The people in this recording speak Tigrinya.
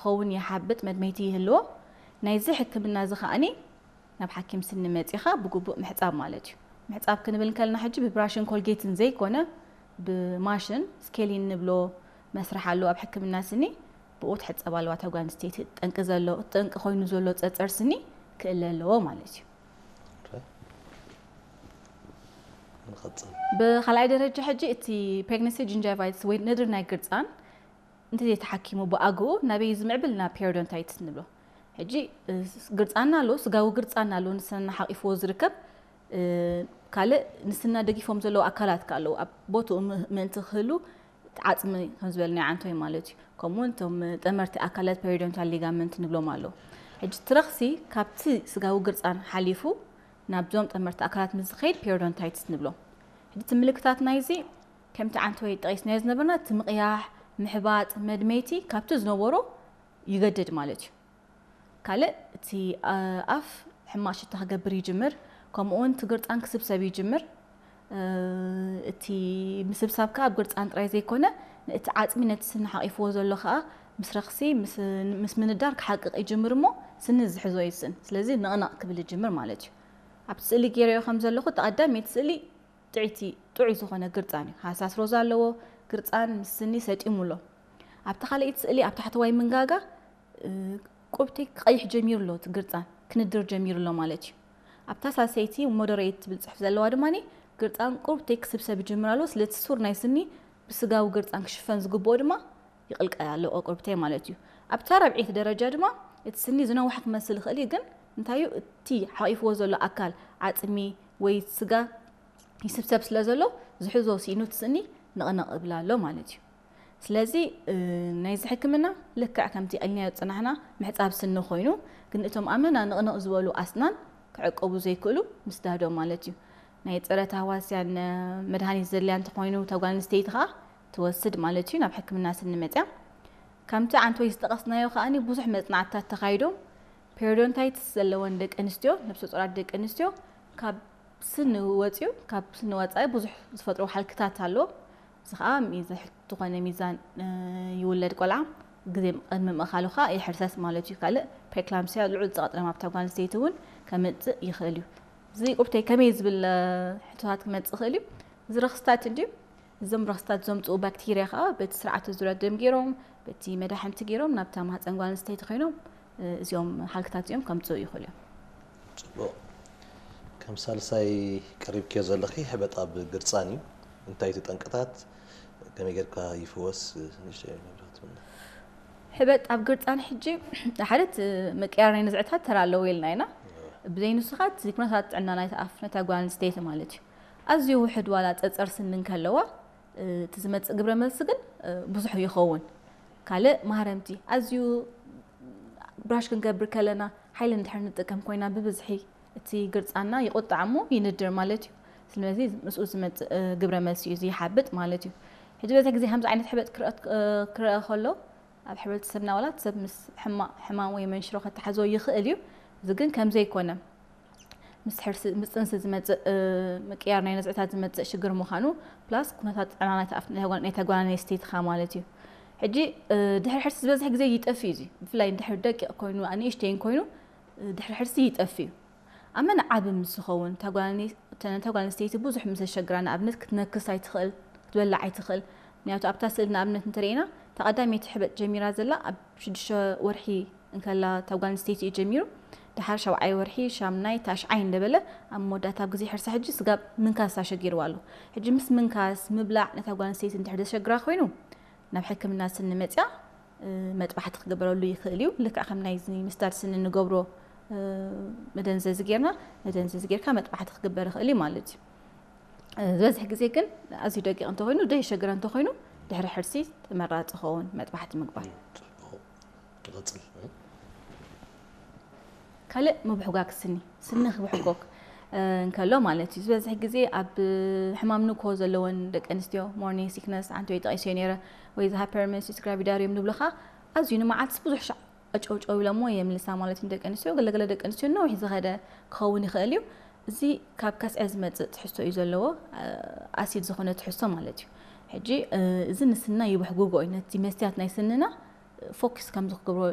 ክኸውን ይሓብጥ፣ መድመይቲ ይህልዎ። ናይዚ ሕክምና እዚ ከኣኒ ናብ ሓኪም ስኒ መጺኻ ብግቡእ ምሕጻብ ማለት እዩ። ምሕጻብ ክንብል እንከልና ሕጂ ብብራሽን ኮልጌትን ዘይኮነ ብማሽን ስኬሊን ንብሎ መስርሕ ኣሎ ኣብ ሕክምና ስኒ። ብኡ ትሕጸብ ኣለዋ እታ ጓል ኣንስተይቲ። ጠንቂ ዘሎ፣ ጠንቂ ኮይኑ ዘሎ ጸጸር ስኒ ክእለ ኣለዎ ማለት እዩ። ንቐጽል። ብኻልኣይ ደረጃ ሕጂ እቲ ፕሬግነንሲ ጂንጃይቫይትስ ወይ ነድሪ ናይ ግርጻን እንተዘይተሓኪሙ ብኣግኡ ናበይ ዝምዕብል ናብ ፔሪዶንታይትስ ንብሎ። ሕጂ ግርጻና ኣሎ፣ ስጋዊ ግርጻና ኣሎ፣ ንስና ሓቂፍዎ ዝርከብ። ካልእ ንስና ደጊፎም ዘለዉ ኣካላት ከ ኣለዉ፣ ኣብ ቦትኡ ምእንቲ ክህሉ ዓጽሚ ከም ዝበልናዮ ዓንቶይ ማለት እዩ። ከምኡ እውን እቶም ጠመርቲ ኣካላት ፔሪዶንታል ሊጋመንት ንብሎም ኣለዉ። ሕጂ ትረኽሲ ካብቲ ስጋዊ ግርጻን ሓሊፉ ናብዞም ጠመርቲ ኣካላት ምስ ዝኸይድ ፔሪዶንታይትስ ንብሎ። ሕጂ እቲ ምልክታት ናይዚ ከምቲ ዓንቶይ ጠቒስናዮ ዝነበርና እቲ ምቕያሕ፣ ምሕባጥ፣ መድመይቲ ካብቲ ዝነበሮ ይገድድ ማለት እዩ። ካልእ እቲ ኣፍ ሕማቕ ሽታ ክገብር ይጅምር፣ ከምኡ እውን እቲ ግርጻን ክስብሰብ ይጅምር። እቲ ምስብሳብ ከኣ ኣብ ግርጻን ጥራይ ዘይኮነ፣ እቲ ዓጽሚ ነቲ ስኒ ሓቂፍዎ ዘሎ ከኣ ምስ ረኽሲ ምስ ምንዳር ክሓቅቕ ይጅምር እሞ ስኒ ዝሕዞ ይስእን። ስለዚ ንቕንቕ ክብል ይጅምር ማለት እዩ። ኣብቲ ስእሊ ገይረዮ ከም ዘለኹ እቲ ቀዳመይቲ ስእሊ ጥዕይቲ ጥዑይ ዝኾነ ግርጻን እዩ። ሃሳስ ሮዛ ኣለዎ። ግርጻን ምስ ስኒ ሰጢሙ ኣሎ። ኣብቲ ካልኣይቲ ስእሊ ኣብ ታሕተዋይ መንጋጋ ቁርብተይ ክቐይሕ ጀሚሩ ኣሎ፣ እቲ ግርጻን ክንድር ጀሚሩ ኣሎ ማለት እዩ። ኣብታ ሳልሰይቲ ሞደሬት ትብል ጽሑፍ ዘለዋ ድማ ግርጻን ቁርብተይ ክስብሰብ ይጅምር ኣሎ። ስለቲ ሱር ናይ ስኒ ብስጋዊ ግርጻን ክሽፈን ዝግብኦ ድማ ይቕልቀል ኣሎ ቁርብተይ ማለት እዩ። ኣብታ ራብዐይቲ ደረጃ ድማ እቲ ስኒ ዝነውሐ ክመስል ይኽእል እዩ፣ ግን እንታይ እዩ እቲ ሓቂፍዎ ዘሎ ኣካል ዓጽሚ ወይ ስጋ ይስብሰብ ስለ ዘሎ ዝሕዞ ስኢኑ እቲ ስኒ ንቕንቕ ይብል ኣሎ ማለት እዩ። ስለዚ ናይዚ ሕክምና ልክዕ ከምቲ ቀልናዮ ዝጸናሕና ምሕጻብ ስኒ ኮይኑ፣ ግን እቶም ኣመና ንቕንቕ ዝበሉ ኣስናን ክዕቀቡ ዘይክእሉ ምስዳዶም ማለት እዩ። ናይ ጸረ ታህዋስያን መድሃኒት ዘድልያ እንተኾይኑ እታ ጓል ኣንስተይቲ ከኣ ትወስድ ማለት እዩ ናብ ሕክምና ስኒ መጽያ። ከምቲ ዓንቶይ ዝጠቐስናዮ ከኣ ብዙሕ መጽናዕትታት ተኻይዶም ፔሪዶንታይትስ ዘለወን ደቂ ኣንስትዮ፣ ነብሰ ጾራት ደቂ ኣንስትዮ ካብ ስኒ ወጽዩ፣ ካብ ስኒ ወጻኢ ብዙሕ ዝፈጥሮ ሃልክታት ኣሎ። እዚ ከኣ ዝኾነ ሚዛን ይውለድ ቆልዓ ግዜ ቅድሚ ምእኻሉ ከኣ ይሕርሰስ ማለት እዩ። ካልእ ፕሬክላምሲያ ልዑል ጸቕጢ ደም ኣብታ ጓል ኣንስተይቲ እውን ከምጽእ ይኽእል እዩ። እዚ ቁርብተይ ከመይ ዝብል ሕቶታት ክመጽእ ይኽእል እዩ። እዚ ረኽስታት እንድዩ እዞም ረኽስታት ዘምጽኡ ባክቴርያ ከኣ በቲ ስርዓተ ዙርያ ደም ገይሮም በቲ መዳሕንቲ ገይሮም ናብታ ማህፀን ጓል ኣንስተይቲ ኮይኖም እዚኦም ሃልክታት እዚኦም ከምጽኡ ይኽእሉ እዮም። ጽቡቕ። ከም ሳልሳይ ቀሪብክዮ ዘለኺ ሕበጥ ኣብ ግርጻን እዩ። እንታይ እቲ ጠንቅታት፣ ከመይ ጌርካ ይፍወስ? ንእሽተይ መብራህቲ ምና። ሕበጥ ኣብ ግርጻን ሕጂ ሓደ እቲ ምቅያር ናይ ነዝዕታት ተራ ኣለዎ ኢልና ኢና። ብዘይ ንሱ ኸኣ እቲ ኩነታት ጥዕና ናይቲ ኣፍ ነታ ጓል ኣንስተይቲ ማለት እዩ። ኣዝዩ ውሕድ ዋላ ጸጸር ስኒ እንከለዋ እቲ ዝመጽእ ግብረ መልሲ ግን ብዙሕ ይኸውን። ካልእ ማህረምቲ ኣዝዩ ብራሽ ክንገብር ከለና ሓይሊ እንድሕር ንጥቀም ኮይና ብብዝሒ እቲ ግርጻና ይቁጣዕ እሞ ይንድር ማለት እዩ። ስለዚ ምስኡ ዝመጽእ ግብረ መልሲ እዩ ዝይሓብጥ ማለት እዩ። ሕጂ በዚ ግዜ ከምዚ ዓይነት ሕበጥ ክረአ ከሎ ኣብ ሕብረተሰብና ዋላ ሰብ ምስ ሕማቕ ሕማም ወይ መንሽሮ ከተሓዞ ይኽእል እዩ። እዚ ግን ከም ዘይኮነ ምስ ሕርሲ ምስ ጥንሲ ዝመጽእ ምቅያር ናይ ነዝዕታት ዝመጽእ ሽግር ምዃኑ ፕላስ ኩነታት ጥዕና ናይታ ጓል ኣንስተይትኻ ማለት እዩ። ሕጂ ድሕሪ ሕርሲ ዝበዝሕ ግዜ ይጠፍእ እዩ። ብፍላይ ድሕሪ ደቂቕ ኮይኑ ኣንእሽተይን ኮይኑ ድሕሪ ሕርሲ ይጠፍእ እዩ። ኣብ መን ዓቢ ምስ ዝኸውን እታ ጓል ኣንስተይቲ ብዙሕ ምስ ዘሸግራ ንኣብነት ክትነክስ ኣይትኽእል ክትበልዕ ኣይትኽእል። ምክንያቱ ኣብታ ስእሊ ንኣብነት እንተርእና እታ ቀዳመይቲ ሕበጥ ጀሚራ ዘላ ኣብ ሽዱሽተ ወርሒ እንከላ እታ ጓል ኣንስተይቲ እዩ ጀሚሩ። ድሓር ሻብዓይ ወርሒ ሻምናይ ታሽዓይ እንደበለ ኣብ መወዳእታ ኣብ ግዜ ሕርሳ ሕጂ ስጋብ ምንካስ ኣሸጊርዋ ኣሎ። ሕጂ ምስ ምንካስ ምብላዕ ነታ ጓል ኣንስተይቲ እንድሕር ዘሸግራ ኮይኑ ናብ ሕክምና ስኒ መጽያ መጥባሕቲ ክግበረሉ ይኽእል እዩ። ልክዕ ከም ናይ ምስዳድ ስኒ እንገብሮ መደንዘዚ ጌርና መደንዘዚ ጌርካ መጥባሕቲ ክግበር ይኽእል እዩ ማለት እዩ። ዝበዝሕ ግዜ ግን ኣዝዩ ደቂቕ እንተኾይኑ ደይሸግረ እንተኾይኑ ድሕሪ ሕርሲ ተመራፂ ኸውን መጥባሕቲ ምግባር። ንቐጽል። ካልእ ምብሕጓግ ስኒ ስኒ ክብሕጎግ እንከሎ ማለት እዩ። ዝበዝሕ ግዜ ኣብ ሕማም ንኮ ዘለወን ደቂ ኣንስትዮ ሞርኒንግ ሲክነስ ዓንቶይ ጠቒስዮ ነይረ ወይ እዚ ሃይፐርሜሲስ ግራቪዳሪየም ንብሎ ከዓ ኣዝዩ ንመዓልትስ ብዙሕ ሻዕ ጨውጨው ኢሎሞ የምልሳ ማለት እዩ። ደቂ ኣንስትዮ ገለገለ ደቂ ኣንስትዮ ነዊሕ ዝኸደ ክኸውን ይኽእል እዩ። እዚ ካብ ከስዐ ዝመፅእ ትሕዝቶ እዩ ዘለዎ፣ ኣሲድ ዝኾነ ትሕዝቶ ማለት እዩ። ሕጂ እዚ ንስንና ይብሕጉጎ እዩ፣ ነቲ መስትያት ናይ ስንና ፎክስ ከምዚ ክገብሮ